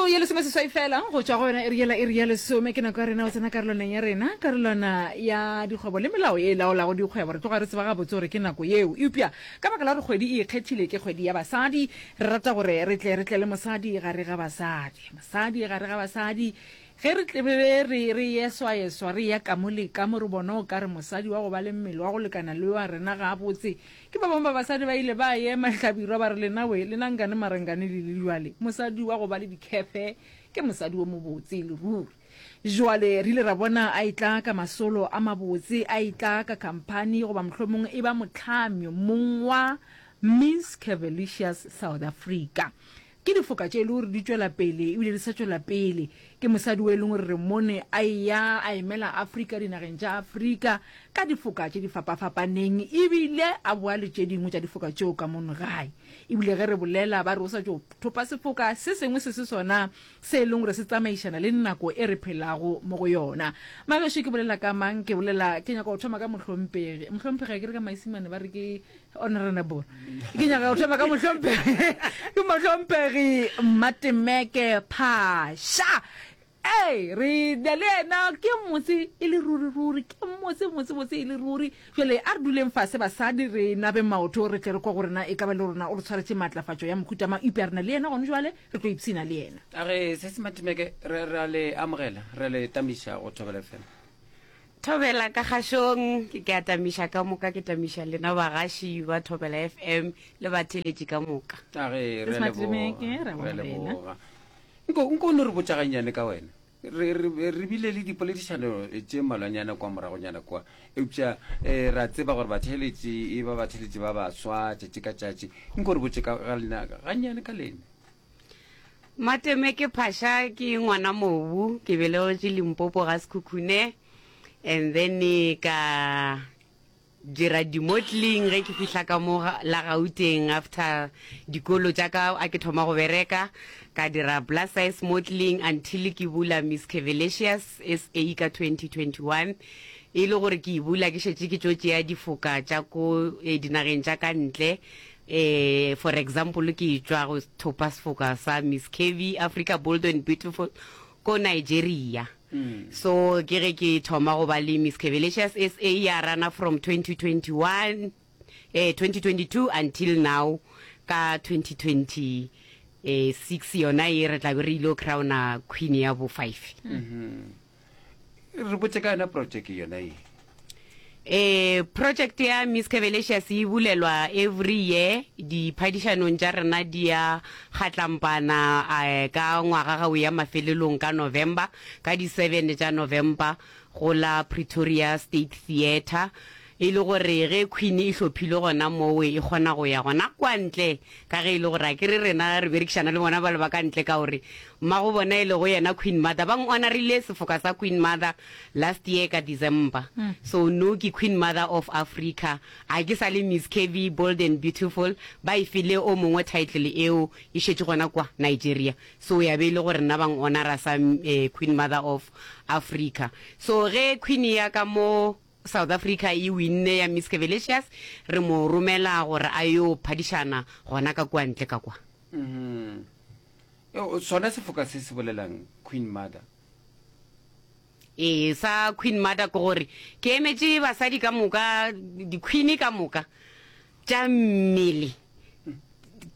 Metsotso ye lesomeseswai fela go tšwa go yona iri yela iri ya lesome ke nako ya rena go tsena karolwaneng ya rena, karolwana ya dikgwebo le melao ye e laolago dikgwebo. Re tloga re tseba gabotse gore ke nako yeo, eupša ka baka la gore kgwedi e ikgethile ke kgwedi ya basadi, re rata gore re tle re tle le mosadi gare ga basadi. Mosadi gare ga basadi, ge re tle be re re eswaeswa re eya ka mo le ka mo re bona o ka re mosadi wa go ba le mmele wa go lekana le wa rena gabotse Ke ba bangwe ba basadi ba ile ba ema Hlabirwa ba re, Lena we, lena nkane mara nkane le le jwale? Mosadi wa go ba le dikhefe ke mosadi wo mobotse e le ruri. Jwale re ile ra bona a etla ka masolo a mabotse, a etla ka khamphani goba mohlomongwe e ba mohlami mong wa Miss Curvilicious South Africa. Ke difoka tše e le gore di tšwela pele ebile di sa tšwela pele. Ke mosadi o e leng gore re mmone a eya a emela Afrika dinageng tša Afrika ka difoka tše di fapafapaneng ebile a boa le tše dingwe tša difoka tšeo ka mono gae. Ebile ge re bolela ba re o sa tšo thopa sefoka se sengwe se se sona se e leng gore se tsamaišana le nako e re phelago mo go yona. Magešo ke bolela ka mang? Ke bolela ke nyaka go thoma ka mohlompegi. Mohlompegi a ke re ka Maisimane ba re ke Honorable. Ke nyaka go thoma ka mohlomphegi. Ke mohlomphegi Mmatemeke Phasha. Ee, re na le yena ke motse e le ruri ruri, ke motse motse motse e le ruri. Jwale a re duleng fase basadi re nabe maoto re tle re kwa gore na e ka ba le rona o re tshwaretše maatlafatšo ya mohuta mang. Eupša re na le yena gone jwale, re tlo ipshina le yena. A re se se Matemeke re re a le amogela, re a le tamiša go Thobela FM. Thobela ka kgašong, ke ke a tamiša ka moka, ke tamiša lena bagaši ba Thobela FM le batheeletši ka moka. A ge, re a leboga, re a leboga. Nko, nko o no re botša gannyane ka wena. Re, re, re bile le dipoledišano tše mmalwanyana kwa moragonyana kwa, eupša eh, ra tseba gore batheeletši e ba batheeletši ba baswa tšatši ka tšatši. Nko re botše ka ga lena gannyane ka lena. Mateme ke Phasha ke ngwana mobu ke belegetšwe Limpopo ga Sekhukhune and then ka dira di-modeling ge ke fihla ka mo la Gauteng after dikolo tša ka a ke thoma go bereka ka dira plus size modeling until ke bula Miss Curvilicious SA ka 2021 e le gore ke e bula ke šetše ke tšo tšea difoka tša ko eh, dinageng tša ka ntle Eh, for example, ke tšwa go thopa sefoka sa Miss Curvy Africa Bold and Beautiful ko Nigeria. Mm. So ke ge ke thoma go ba le Miss Curvilicious SA ya rana from 2021 eh 2022 until now ka 2026 yona e re tla be re ile crowna queen ya bo 5. Mm -hmm. Re botše ka yona projeke yona ye. Eh, project ya Miss Curvilicious e bulelwa every year, diphadišanong tša rena di ya kgatlampana eh, ka ngwaga ga o ya mafelelong ka November, ka di seven tša November go la Pretoria State Theatre. E le gore ge Queen e hlophilwe gona mowe e kgona go ya gona kwa ntle ka ge e le gore akere rena re berekišana le bona bale ba ka ntle ka gore mmago bona e lego yena Queen Mother ba n'honorile sefoka sa Queen Mother last year ka December so no ke Queen Mother of Africa a ke sa le Miss Curvy Bold and Beautiful ba e file o mongwe title eo e šetše gona kwa Nigeria so ya be e le gore nna ba n'honora sa Queen Mother of Africa so ge Queen ya ka mo South Africa e winne ya Miss Curvilicious, re mo romela gore a yo phadišana gona ka kua ntle ka kwa. Mm-hmm. Sona sefoka se se bolelang Queen Mother? Ee, sa Queen Mother ke gore ke emetše basadi ka moka, di-queen ka moka tša mmele.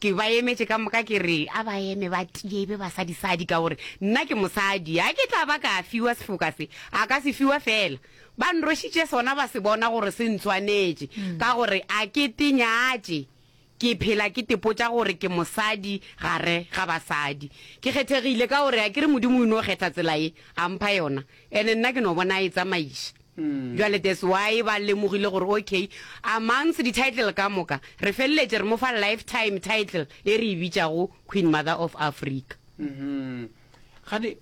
Ke ba emetše ka moka ke re a ba eme ba tie e be basadisadi ka gore nna ke mosadi. A ke tla ba ka fiwa sefoka se, a ka se fiwa fela. Ba nrošitše sona ba se bona gore se ntshwanetše ka gore a ke tenyatše. Ke phela ke tepotša gore ke mosadi gare ga basadi. Ke kgethegile ka gore a ke re Modimo o ino kgetha tsela ye a mpha yona ene nna ke no bona a e tsamaiša. Bjale that's why ba lemogile gore okay, amongst di-title ka moka, re feleletše re mo fa lifetime title e re e bitšago Queen Mother of Africa. Gane,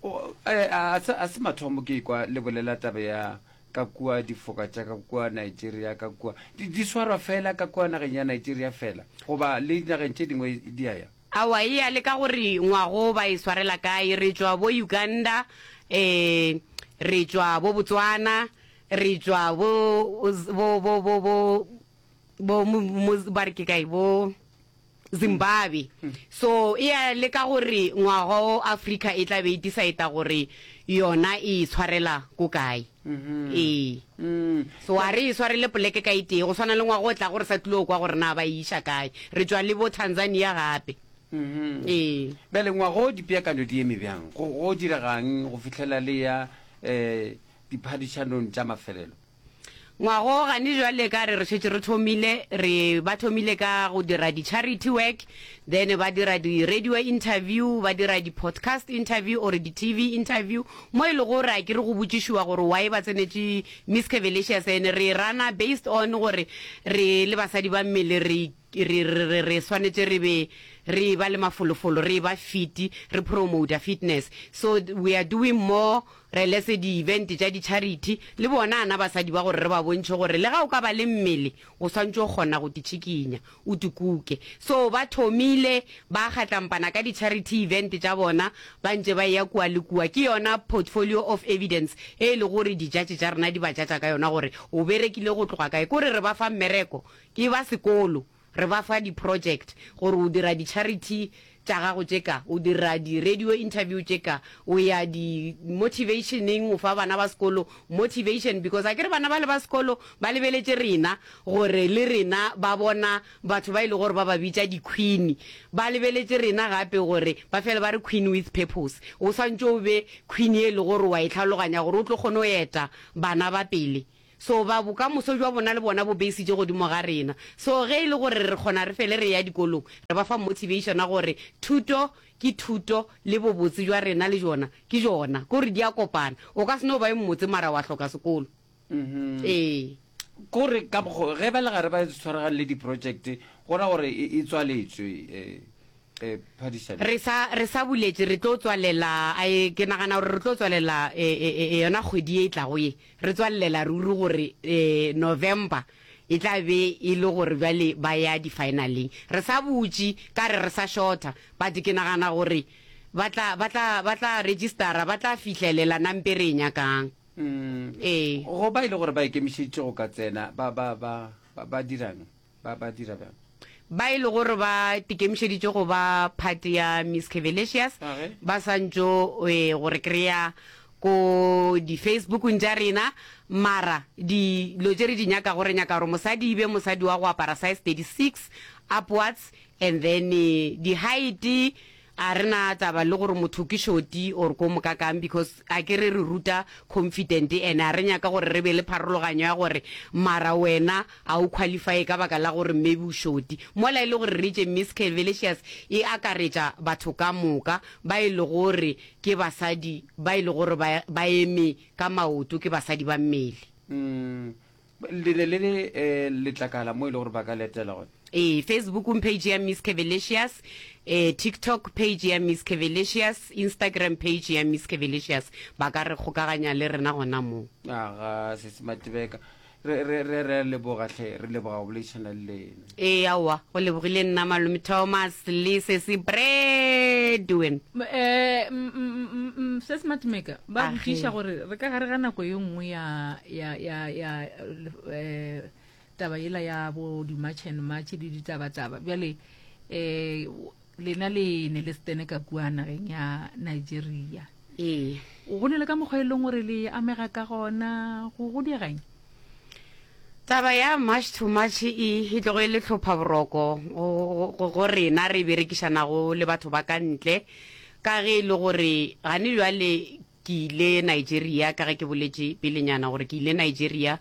a se, a se mathomo ke ekwa le bolela taba ya ka kua difoka tša ka kua Nigeria, ka kua. Di, di swarwa fela ka kua nageng ya Nigeria fela, goba le dinageng tše dingwe di a ya? Aowa, e ya le ka gore ngwago ba e swarela kae. Re tšwa bo Uganda, eh, re tšwa bo Botswana, re tšwa bo, bo, bo, bo, bo, bo, mo, mo, ba re ke kae, bo. Zimbabwe. So e ya le ka gore ngwaga o Africa e tla be e decide gore yona e e tshwarela ko kae. Ee. So a re e swarele poleke ka e tee, go swana le ngwaga o tlago re sa tlilo kwa gore na ba e iša kae. Re tšwa le bo Tanzania gape. Ee. Bjale ngwaga o dipeakanyo di eme bjang? Go, go diregang go fihlela le ya um diphadišanong tša mafelelo? Ngwago gane jwale ka re re šetše re thomile, re ba thomile ka go dira di charity work, then ba dira di radio interview, ba dira di podcast interview or di TV interview, mo e lego gore a ke re go botšišiwa gore why ba tsenetše Miss Curvilicious and re rana based on gore re le basadi ba mmele re re re re swanetše re be re ba le mafolofolo, re ba fit, re promota fitness. So we are doing more Re lese di-event tša di-charity le bona ana basadi ba gore re ba bontšhe gore le ga o ka ba le mmele o swantše o kgona go titšhikinya o tikuke. So ba thomile ba kgatlampana ka di-charity event tša bona ba ntše ba eya kua le kua. Ke yona portfolio of evidence e e lego gore di-judge tša rena di ba judger ka yona gore o berekile go tloga kae. Kore re ba fa mmereko ke ba sekolo. Re ba fa di project gore o dira di charity tša gago tše ka, o dira di radio interview tše ka, o ya di motivationeng o fa bana ba sekolo motivation because akere bana bale ba sekolo ba lebeletše rena gore le rena ba bona batho ba e le gore ba ba bitša di queen, ba lebeletše rena gape gore ba fele ba re queen with purpose. O swantše o be queen ye e le gore wa e tlhaloganya gore o tlo kgone go eta bana ba pele. So ba bokamoso bja bona le bona bo beisitše godimo ga rena. So ge e le gore re kgona re fele re eya dikolong, re ba fa motivation ya gore thuto ke thuto le bobotse bja rena le bjona ke bjona. Ke gore di a kopana. O ka se no ba yo mmotse mara wa hloka sekolo. Ee. Ke gore ka mokgo ge ba le gare ba tshwaragane le di-project go ra gore e tswaletšwe. Eh, phadišano. Re sa, re sa buletše, re tlo tswalela, a, ke nagana gore re tlo tswalela e, e, e, yona kgwedi ye e tlago ye. Re tswalelela ruri gore e, November e tla be e le gore bjale ba ya di-finaleng. Re sa butše, ka re re sa shorta, but ke nagana gore ba tla, ba tla, ba tla registera, ba tla fihlelela nampe re e nyakang. Mm. Ee. Go ba e le gore ba ikemišeditše go ka tsena, ba, ba, ba, ba, ba dirang? Ba, ba dira bjang? Ba e le gore ba tikemišeditše go ba part ya Miss Curvilicious, ba santšo e, go re kry-a ko di-Facebookong tša rena, mara dilo tše re di nyakago, re nyaka gore mosadi e be mosadi wa go apara size 36 upwards, and then di-height A re na taba le gore motho ke shoti or ko mokakang because a ke re re ruta confident and a re nyaka gore re be le pharologanyo ya gore mara wena a o qualify ka baka la gore maybe o shoti. Mola e le gore re itše Miss Curvilicious e akaretša batho ka moka ba e lego gore ke basadi ba e lego gore ba ba eme ka maoto ke basadi ba mmele. Le ne le le eh, letlakala mo e le gore ba ka letela gona. Ee, Facebookong page ya Miss Curvilicious, eh, TikTok page ya Miss Curvilicious, Instagram page ya Miss Curvilicious. Ba ka re kgokaganya le rena gona moo. Aga, Sesi Matebeka, re, re, re, re a leboga hle, re leboga go boledišana le lena. Ee, aowa, go lebogile nna Malome Thomas le Sesi Bradwin. Eh, mm, mm, mm, mm, Sesi Matebeka, ba Age. botšiša gore re ka gare ga nako ye nngwe ya, ya, ya, ya, eh, taba yela ya bo di-march and march le ditabataba bjale um lena le ne le setene ka kua nageng ya Nigeria. Ee. Go ne le ka mokgwa e leng gore le amega ka gona go go diegeng? Taba ya March to March e e tlogo e le hlopha boroko go go rena re berekišanago le batho ba ka ntle ka ge e le gore gane bjale ke ile Nigeria ka ge ke boletše pelenyana gore ke ile Nigeria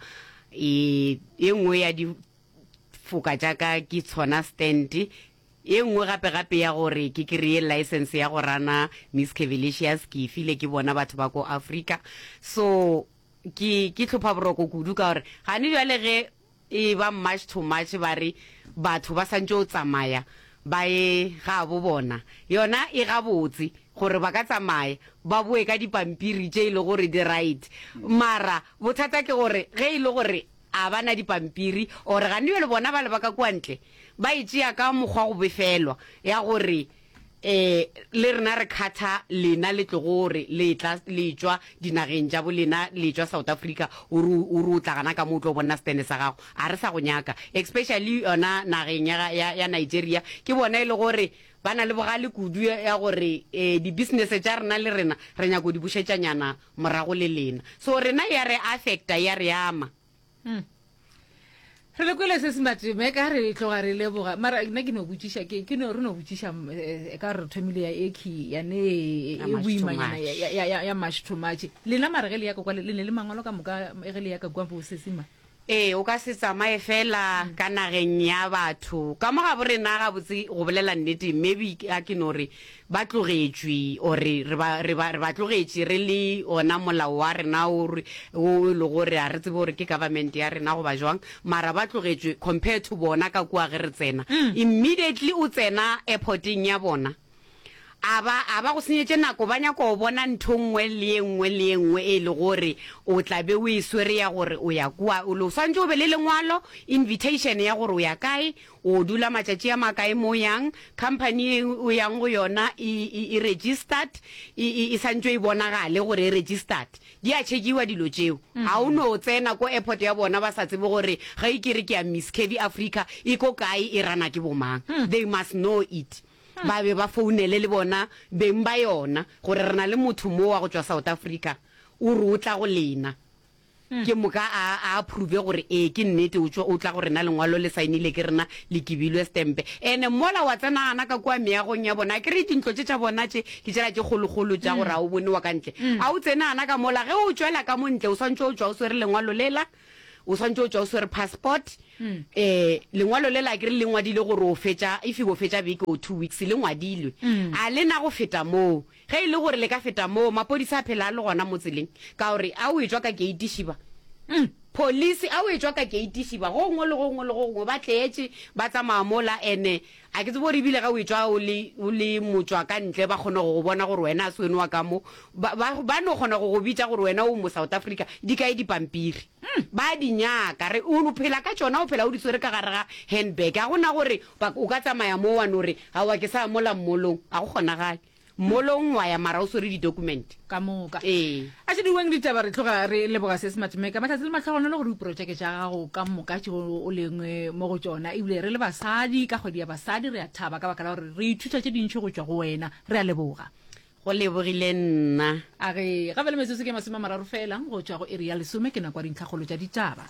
e e nngwe ya difoka tša ka ke tshona stand E nngwe gape gape ya gore ke kry-e license ya go rana Miss Curvilicious ke e file ke bona batho ba ko Africa. So ke ke hlopha boroko kudu ka gore gane bjale ge e ba March to March ba re batho ba santše o tsamaya ba ye gabo bona. Yona e gabotse gore ba ka tsamaya ba boe ka dipampiri tše e le gore di right. Mara bothata ke gore ge e le gore a ba na dipampiri or gane bjale bona bale ba ka kua ntle ba e tšea ka mokgwa go befelwa ya gore. Eh, le rena re khatha lena le tlogo re le tla le tšwa dinageng tša bo lena le tšwa South Africa o re o re o tla gana ka mo o tlo bona stene sa gago a re sa go nyaka especially yona nageng ya ya, ya Nigeria ke bona e le gore ba na le bogale kudu ya, ya gore eh, di business tša rena le rena re nyako di bušetšanyana morago le lena so rena ya re affecta ya re ama. Hmm. Re le kwele se se mateme ka re tloga re leboga mara nna ke no botšiša ke ke no re no botšiša eh, ka re thomile ya eki ya ne e Ya March to boimanyana March. ya ya ya ya march to march lena mara ge le ya ka kwa le le ne le mangwalo ka moka ge le ya ka kwa bo sesima Ee, o ka se tsamaye fela ka nageng ya batho. Ka mo gabo rena gabotse go bolela nnete maybe a ke no re ba tlogetšwe or re ba, re ba, re ba tlogetše re le ona molao wa rena o re, o e le gore ga re tsebe gore ke government ya rena goba jwang, mara ba tlogetšwe compared to bona ka kua ge re tsena. Immediately o tsena airporteng ya bona, a ba, a ba go senyetše nako, ba nyaka go bona ntho nngwe le ye nngwe le ye nngwe e le gore o tla be o e swere ya gore o ya kua. O swanetše o be le lengwalo, invitation ya gore o ya kae, O dula matšatši a makae mo o yang? Company ye o yang go yona e, e, e registered? E, e, e santšwe e bonagale gore e registered? Di a tšhekiwa dilo tšeo. Ga o no tsena ko airport ya bona ba sa tsebe gore ge ke re ke ya Miss Curvy Africa e ko kae, e rana ke bomang. They must know it. Ba be ba founele le bona beng ba yona gore re na le motho mo wa go tšwa South Africa o re o tla go lena. Ke moka a, a approve gore ee ke nnete o tšwa, o tla go rena lengwalo le saenile ke rena le kibilwe stempe. Ene mola wa tsena gana ka kua meagong ya bona, akere dintlo tše tša bona tše ke tšela tše kgolokgolo tša gore ga o bone wa ka ntle. A o tsene gana ka mola, ge o tšwela ka mo ntle o swantše o tšwa o swere lengwalo lela, o swantše o tšwa o swere passport. Eh, lengwalo lela akere le ngwadile gore o fetša, if o fetša beke or 2 weeks le ngwadilwe. A le na go feta moo. Ge e le gore le ka feta moo, maphodisa a phela a le gona mo tseleng, ka gore a o etšwa ka keiti šiba. Police, a o etšwa ka keiti šiba, go gongwe le go gongwe le go gongwe, ba tletše, ba tsamaya mola, ene a ke tsebe gore ebile ge o etšwa o le, o le motšwa ka ntle, ba kgona go go bona gore wena a se wene wa ka mo. Ba, ba, ba no kgona go go bitša gore wena o mo South Africa, di kae dipampiri? Ba a di nyaka. Re, o phela ka tšona, o phela o di swere ka gare ga handbag. Ga go na gore ba, o ka tsamaya mo wa no re, aowa ke sa mola mmolong. Ga go kgonagale. Mmolong wa ya mara o swere di document. Ka moka. Ee. A še diweng ditaba re tloga re leboga se Smartmaker mahlatse le mahlogonolo gore diprojeke tša gago ka moka tšeo o leng mo go tšona ebile re le basadi ka kgwedi ya basadi re a thaba ka baka la gore re ithuta tše dintši go tšwa go wena. Re a leboga. Go lebogile nna. A re gape le metsotso ke 30 fela go tšwa go iri ya lesome ke nako ya dintlhakgolo tša ditaba.